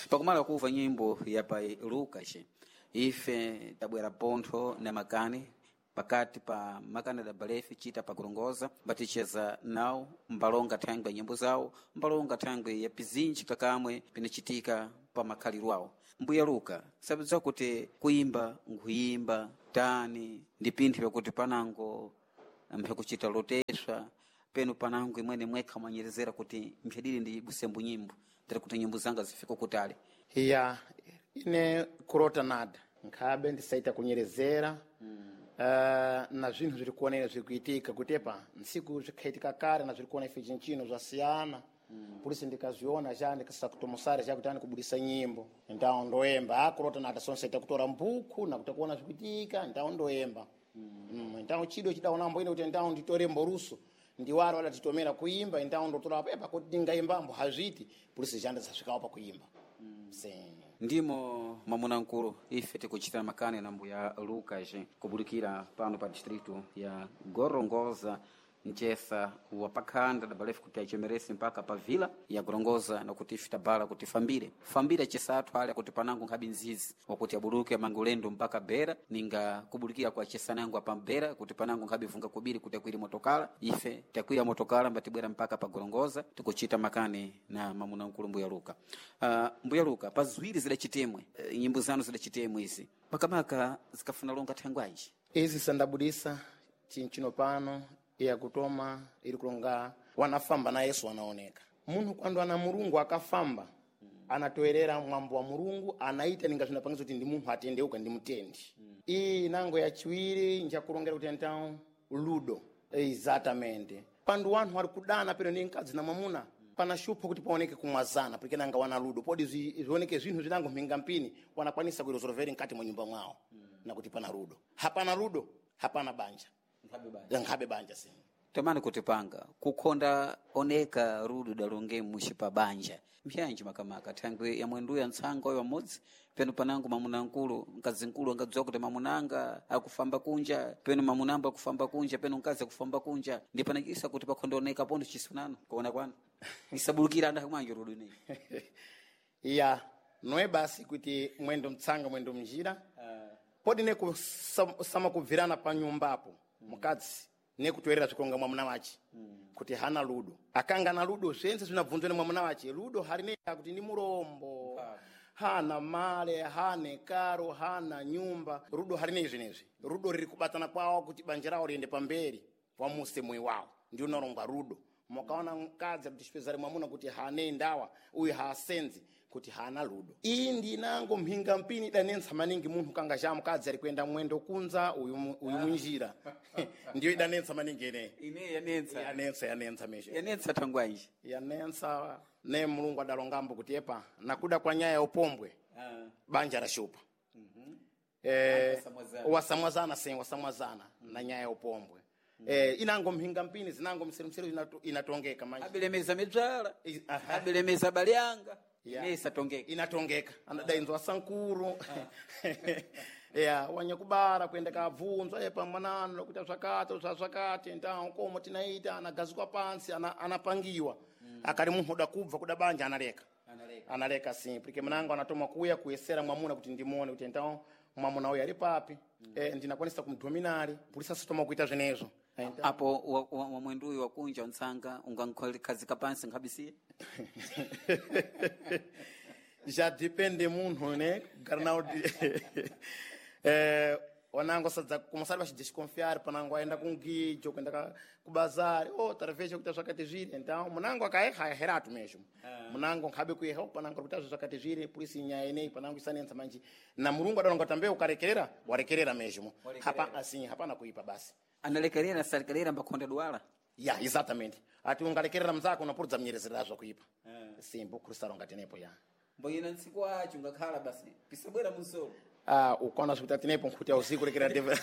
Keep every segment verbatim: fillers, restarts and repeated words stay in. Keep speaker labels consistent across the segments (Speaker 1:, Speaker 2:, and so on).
Speaker 1: Pakumala kuva nyimbo ya pa Lucas, ife tabwera pontho na makani pakati pa makani da balefi chita pakulongoza mbaticheza nawo mbalonga thangwe ya nyimbo zawo, mbalonga thangwe ya pizinji kakamwe pinachitika pa makhaliro awo. Mbuya Luka, sabidza kuti kuimba nkhuyimba tani ndi pinthu pakuti panango mphakuchita loteswa penu panango imwene mwekha mwanyerezera kuti mphadili ndi busembu nyimbo tiri kuti nyimbo zanga zifike kutali.
Speaker 2: Ya, ine kurota nada nkhabe ndisaita kunyerezera mm. Uh, na zvinthu zviri kuonera zviri kuitika kutepa ntsiku zvikhaitika kare na zviri kuona ife chinchino zvasiyana mm. Polisi ndikazviona cha ndikasakutomosara cha kuti ani kubudisa nyimbo ndawo ndoemba akurota nada sonsaita kutora mbukhu nakuta kuona zvikuitika ndawo ndoemba mm. mm, ndawo chido chidaonambo ine kuti ndawo nditore mboruso ndiwaro wala titomera kuimba ndawo ndotora pepa kuti ndingaimbambo hazviti polisi chanda zasvikawo pakuimba mm. Se
Speaker 1: Ndimo mwamuna mkulu ife tikuchita makani na mbuya Lucas kubulikira pano pa distrito ya Gorongosa mchesa wa pakhanda dabalefu kuti achemerese mpaka pa vila ya Gorongosa nakuti ife tabala kuti fambire fambire chesathu ale kuti panango nkhabi nzizi wakuti abuluke mangulendo mpaka bera ninga kubulikira kwa chesanango apa bera kuti panango nkhabi vunga kubiri kuti akwire motokala ife takwira motokala mbatibwera mpaka pa Gorongosa tikuchita makani na mamuna mkulu mbuya Luka. Uh, mbuya Luka, pa ziwiri zidachitemwe uh, nyimbo zanu zidachitemwe izi makamaka zikafuna longa thangwanji
Speaker 2: izi sandabudisa chinchino pano yakutoma iri kulonga wanafamba na Yesu wanaoneka munhu kwando ana Mulungu akafamba anatoerera mwambo wa Mulungu anaita ninga zvinapangisa kuti ndi munthu atendeuka ndi mutendi mm. Iyi nango yachiwiri njakulongera kuti então ludo exatamente pandu wanthu ari kudana pero ndi mkadzi na mwamuna pana shupho kuti paoneke kumwazana porque nanga wana ludo podi zvioneke zvinhu zvinango mhinga mpini wanakwanisa kuiresolveri mkati mwa nyumba mwawo mm. Nakuti pana ludo hapana ludo hapana banja nkhabe banja si
Speaker 1: tamani kuti panga kukhonda oneka rudu dalonge mushi pa banja mpyanji makamaka thangwe ya mwenduya ntsanga oyo amodzi penu panango mamuna nkulu mkazi nkulu angadziwa kuti mamunanga akufamba kunja penu mamunambo akufamba kunja penu mkazi akufamba kunja ndi panachisa kuti pakhonda oneka pondo chisunano kuona kwanu isabulukira anda kumanje rudu ineyi
Speaker 2: ya noe basi kuti mwendo mtsanga mwendo mnjira uh. Podi nekusamakubvirana pa nyumbapo mukadzi nekutoerera zvikonga mwamuna wache mm. Kuti hana ludo akanga na ludo zvense zvinabvunzwa nemwamuna wache ludo harinea kuti ndi murombo hana male hane karo hana nyumba rudo harinei zvinezvi rudo riri kubatana kwawo kuti banja rawo riende pamberi wamuse moyo wawo ndi unorongwa rudo mukaona mukadzi kuti chipezari mwamuna kuti hane ndawa uyu haasenzi kuti hana ludo iyi ndinango mhinga mpini idanentsa maningi munthu kanga cha mukadzi ari kuenda mwendo kunza uyu uyu munjira ndiyo idanentsa maningi ineyi
Speaker 1: ine yanentsa
Speaker 2: yanentsa yanentsa mesho
Speaker 1: yanentsa thangwanji
Speaker 2: yanentsa ne Mulungu adalongambo kuti epa nakuda kwa nyaya ya upombwe banja rashupa mm -hmm. Eh, wasamwazana sen wasamwazana mm -hmm. na nyaya ya upombwe Mm. Eh, inango mhinga mpini zinango mseru inato, inatongeka manje
Speaker 1: abilemeza midzala abilemeza balyanga
Speaker 2: Yeah.
Speaker 1: ine isatongeka
Speaker 2: inatongeka anadainzwa sankuru ya wanyakubara kuenda kabvunzwa epa mwanano lokuita zvakati zvazvakati ndawo komo tinaita anagazikwa pansi ana, anapangiwa mm. Akali munthu uda kubva kuda banja analeka
Speaker 1: analeka
Speaker 2: analeka sim porque mnango anatoma kuya kuyesera mwamuna kuti ndimuone kuti então mwamuna uyu ali papi mm. Eh, ndinakwanisa kumdominari polisi asitoma kuita zvenezvo
Speaker 1: apo wamwenduyu wa wakunja ntsanga ungankhazika pansi nkhabisiye
Speaker 2: já depende munthu né kugara nawo eh, wanango sadza kumasari vachidesconfiar panango aenda kungijo kuenda kubazari oh tarveja kuita zvakati zviri então munango akaeha heratu mesmo munango nkhabe kueha panango kuita zvakati zviri polisi nyaya ineyi panango isanentsa manje na Mulungu adalonga tambe ukarekerera warekerera mesmo hapa assim hapana kuipa basi
Speaker 1: analekerera salekerera mbakhonda dwala
Speaker 2: ya exatamente ati ungalekerera mzako unapurudza mnyerezera zvakuipa simbo khurisaronga tenepo ya
Speaker 1: mboyena ntsiku acho ungakhala basi pisabwera munsolo
Speaker 2: ah ukaona zvikuti tinepo nkhuti auziku rekera ndeve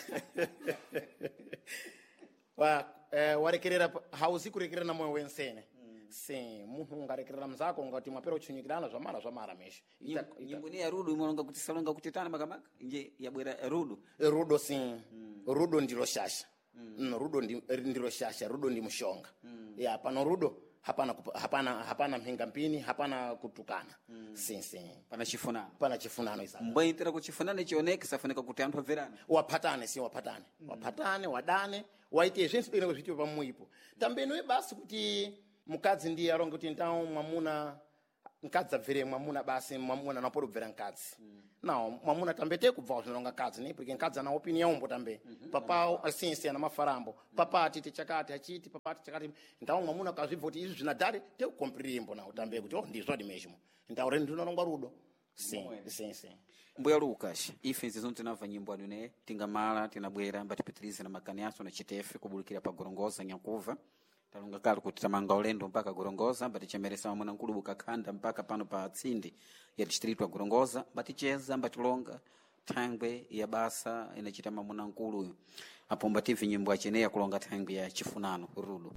Speaker 2: wa eh, warekerera hauzi kurekerera na moyo wensene mm. Sim munthu ungarekerera mzako ungati mwapera uchunyikirana zvamara zvamara mesho
Speaker 1: nyimbo ni ya rudu imalonga kuti salonga kuti tana makamaka nje yabwera rudu
Speaker 2: rudo sim mm. Rudo ndilo shasha mm. Mm, rudo ndi, ndilo shasha rudo ndi mushonga mm. Ya pano rudo Hapana kup- hapana hapana mhinga mpini, hapana kutukana. Mm. Sim, sim.
Speaker 1: Pana chifunano.
Speaker 2: Pana chifunano isa.
Speaker 1: Mbwaitira kuchifunano chioneke safunika kuti anthu abverane.
Speaker 2: Waphatane, si waphatane. Mm. Waphatane, wadane, waite zvense bwino zvitiwe pamuipo. Tambenoe basi kuti mukadzi ndiye alonge kuti ndawo mwamuna mkadzi abvere mwamuna basi, mwamuna napodo kubvera mkadzi. Mm. Nawo mwamuna tambete kubva zvinonga mkadzi ne porque mkadzi ana opinion umbo tambe. Mm -hmm. Papao asinsi ana mafarambo. Mm. Papa atiti chakati achiti papa ati chakati, ndawo mwamuna kazvibva kuti izvi zvinadhari te kukompirimbo nawo tambe kuti oh ndizvo dimezhimo. Ndawo renu ndinonongwa rudo. Sim, sim, sim.
Speaker 1: Mbuya Lucas, ife nzizo tinamva nyimbo anu ne tingamala tinabwera mbatipitirize na makani aso na chitefe kubulikira pa Gorongosa Nyakuva. Talonga kale kuti tamanga ulendo mpaka Gorongosa, mbatichemeresa mamuna nkulu bukakhanda mpaka pano pa tsindi ya distritu ya Gorongosa, mbaticheza mbatilonga thangwe ya basa inachita mamuna nkulu apo mbative nyimbo acheneya kulonga thangwe ya chifunano rudo.